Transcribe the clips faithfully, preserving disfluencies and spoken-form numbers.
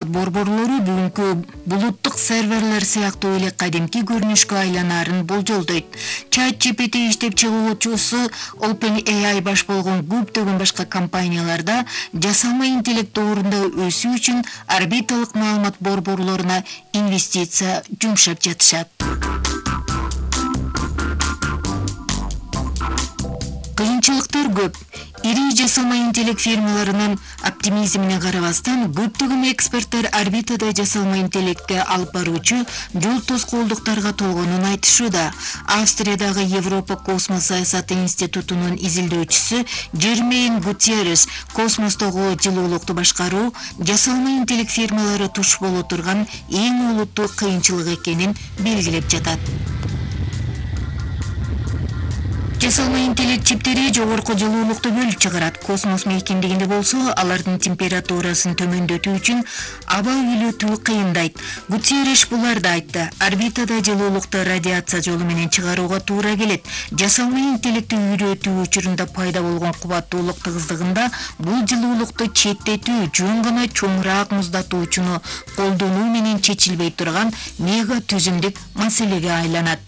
борборлору бүгүнкү булуттук серверлер сыяктуу эле кадимки көрүнүшкө айланаарын болжолдойт. Чат джи пи ти иштеп чыгуучусу OpenAI баш болгон көптөгөн башка компанияларда жасалма интеллект доорунда өсүү үчүн орбиталык маалымат борборлоруна инвестиция жумшап жатышат. Кыйынчылыктар көп. Ири жасалма интеллект фирмаларынын оптимизмине карабастан, көптөгөн эксперттер орбитада жасалма интеллектти алып баруучу жол тоскоолдуктарга толгонун айтышууда. Австриядагы Европа космос саясаты институтунун изилдөөчүсү Жермейн Гутерреш космостогу жылуулукту башкаруу жасалма интеллект фирмалары туш боло турган эң олуттуу кыйынчылык экенин белгилеп жатат. Жасалма интеллект чиптери жогорку жылуулукту бөлүп чыгарат. Космос мейкиндигинде болсо, алардын температурасын төмөндөтүү үчүн аба үйлөтүү кыйындайт. Гутерреш буларды айтты. Орбитада жылуулукту радиация жолу менен чыгарууга туура келет. Жасалма интеллектти үйрөтүү учурунда пайда болгон кубаттуулук тыгыздыгында бул жылуулукту четтетүү жөн гана чоңураак муздатуучуну колдонуу менен чечилбей турган мега түзүмдүк маселеге айланат.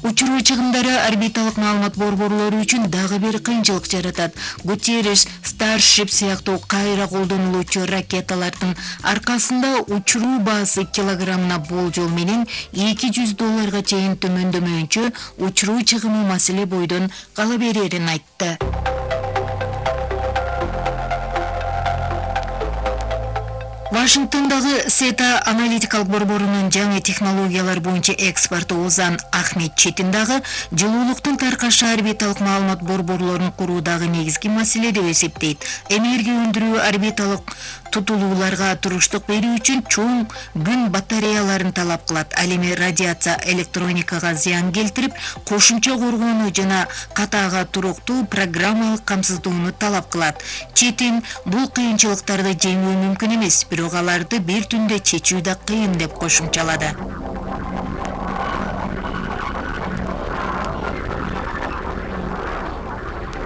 Учуруу чыгымдары орбиталык маалымат борборлору үчүн дагы бир кыйынчылык жаратат. Гутерреш Starship сыяктуу кайра колдонулуучу ракеталардын аркасында учуруу баасы килограммына болжол менен эки жүз долларга чейин төмөндөмөйүнчө учуруу чыгымы маселе бойдон кала берерин айтты. Вашингтондагы сета аналитикалык борборунун жаңы технологиялар боюнча эксперти Озан Ахмет Четин дагы жылуулуктун таркашы орбиталык маалымат борборлорун куруудагы негизги маселе деп эсептейт. Энергия өндүрүү орбиталык тутулууларга туруштук берүү үчүн чоң күн батареяларын талап кылат. Ал эми радиация электроникага зыян келтирип, кошумча коргоону жана катаага туруктуу программалык камсыздоону талап кылат. Четин бул кыйынчылыктарды жеңүү мүмкүн эмес, бирок аларды бир түндө чечүү да кыйын деп кошумчалады.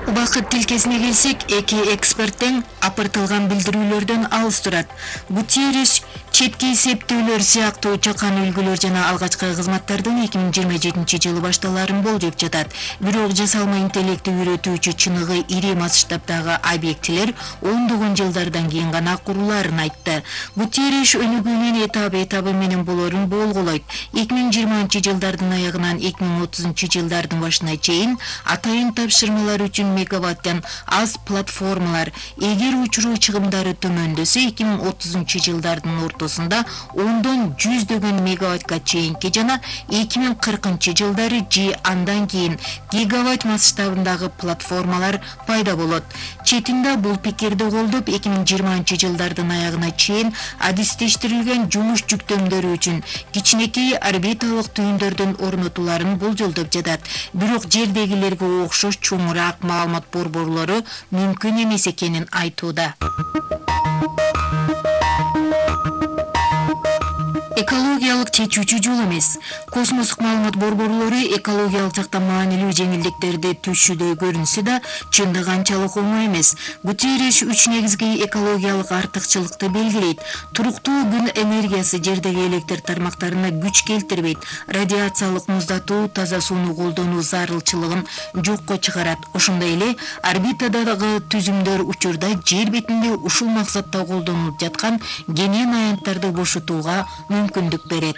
Убакыт тилкесине келсек, эки эксперттен апыртылган билдирүүлөрдөн алыс турат. Гутерреш четки эсептөөлөр сыяктуу чакан үлгүлөр жана алгачкы кызматтардын эки миң жыйырма жетинчи жылы башталарын болжоп жатат. Бирок жасалма интеллектти үйрөтүүчү чыныгы ири масштабдагы объектилер ондогон жылдардан кийин гана курулаарын айтты. Гутерреш өнүгүүнүн этап-этабы менен болорун болголойт. эки миң жыйырманчы жылдардын аягынан эки миң отузунчу жылдардын башына чейин атайын тапшырмалар үчүн мегаваттан аз платформалар, эгер учуруу чыгымдары төмөндөсө эки миң отузунчу жылдардын ортосунда ондон жүздөгөн мегаваттка чейинки жана эки миң кыркынчы жылдары же андан кийин гигаватт масштабындагы платформалар пайда болот. Четинде бул пикирди колдоп, эки миң жыйырманчы жылдардын аягына чейин адистештирилген жумуш жүктөмдөрү үчүн кичинекей орбиталык түйүндөрдүн орнотуларын болжолдоп жатат. Бирок жердегилерге окшош чоңураак маалымат борборлору мүмкүн эмес экенин айтууда. Экологиялык чечүүчү жол эмес. Космостук маалымат борборлору экологиялык жактан маанилүү жеңилдиктерди түшүдөй көрүнсө да, чындыгы анчалык оңой эмес. Гутерреш үч негизги экологиялык артыкчылыкты белгилейт. Туруктуу күн энергиясы жердеги электр тармактарына күч келтирбейт. Радиациялык муздатуу таза сууну колдонуу зарылчылыгын жокко чыгарат. Ошондой эле орбитадагы түзүмдөр учурда жер бетинде ушул максатта колдонулуп жаткан кенен аянттарды бошотууга мүмкүндүк берет.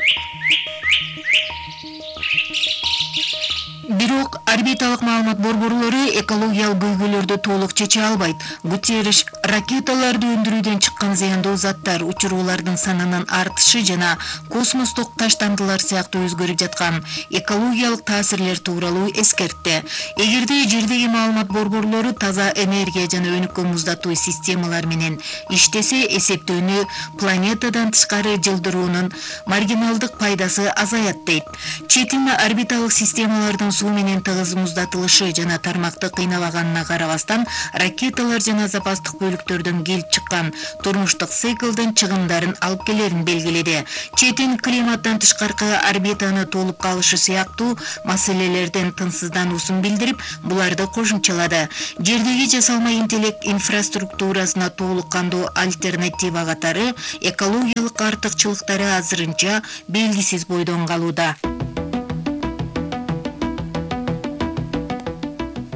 Бирок орбиталык маалымат борборлору экологиялык көйгөйлөрдү толук чече албайт. Гутерреш ракеталарды өндүрүүдөн чыккан зыяндуу заттар, учуруулардын санынын артышы жана космостук таштандылар сыяктуу өзгөрүп жаткан экологиялык таасирлер тууралуу эскертти. Эгерде жердеги маалымат борборлору таза энергия жана өнүккөн муздатуу системалар менен иштесе, эсептөөнү планетадан тышкары жылдыруунун маргиналдык пайдасы азаят дейт. Четин орбиталык системалардын суу менен тыгыз муздатылышы жана тармакты кыйналаганына карабастан ракеталар жана запастык бөлүктөрдөн келип чыккан турмуштук циклдын чыгымдарын алып келерин белгиледи. Четин климаттан тышкаркы орбитаны толуп калышы сыяктуу маселелерден тынчсыздануусун билдирип, буларды кошумчалады. Жердеги жасалма интеллект инфраструктурасына толук кандуу альтернатива катары экологиялык артыкчылыктары азырынча белгисиз бойдон калууда.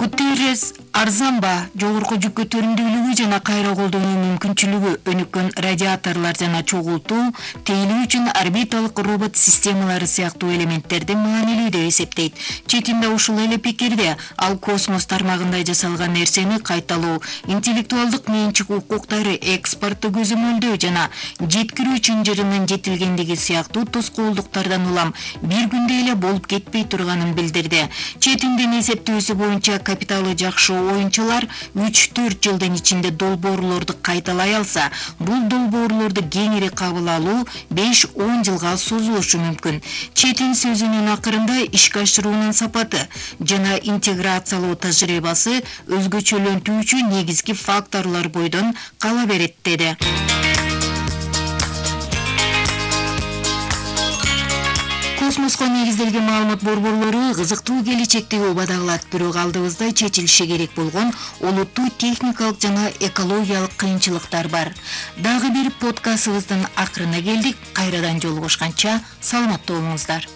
Гутеррес арзанба, жогорку жүк көтөрүмдүүлүгү жана кайра колдонуу мүмкүнчүлүгү өнүккөн радиаторлор жана чогултуу, тейлөө үчүн орбиталык робот системалары сыяктуу элементтерди маанилүү деп эсептейт. Четинде ушул эле пикирде, ал космос тармагында жасалган нерсени кайталоо, интеллектуалдык менчик укуктары экспорту көзөмөлдөө жана жеткирүү чынжырынын жетилгендиги сыяктуу тоскоолдуктардан улам бир күндө эле болуп кетпей турганын билдирди. Четиндин эсептөөсү боюнча капиталы жакшы оюнчулар үч төрт жылдын ичинде долбоорлорду кайталай алса, бул долбоорлорду кеңири кабыл алуу беш он жылга созулушу мүмкүн. Четин сөзүнүн акырында ишке ашыруунун сапаты жана интеграциялоо тажрыйбасы өзгөчөлөнтүүчү негизги факторлор бойдон кала берет деди. Космоско негизделген маалымат борборлору кызыктуу келечектеги убада кылат, бирок алдыбызда чечилиши керек болгон олуттуу техникалык жана экологиялык кыйынчылыктар бар. Дагы бир подкастыбыздын акырына келдик. Кайрадан жолугушканча саламатта болуңуздар.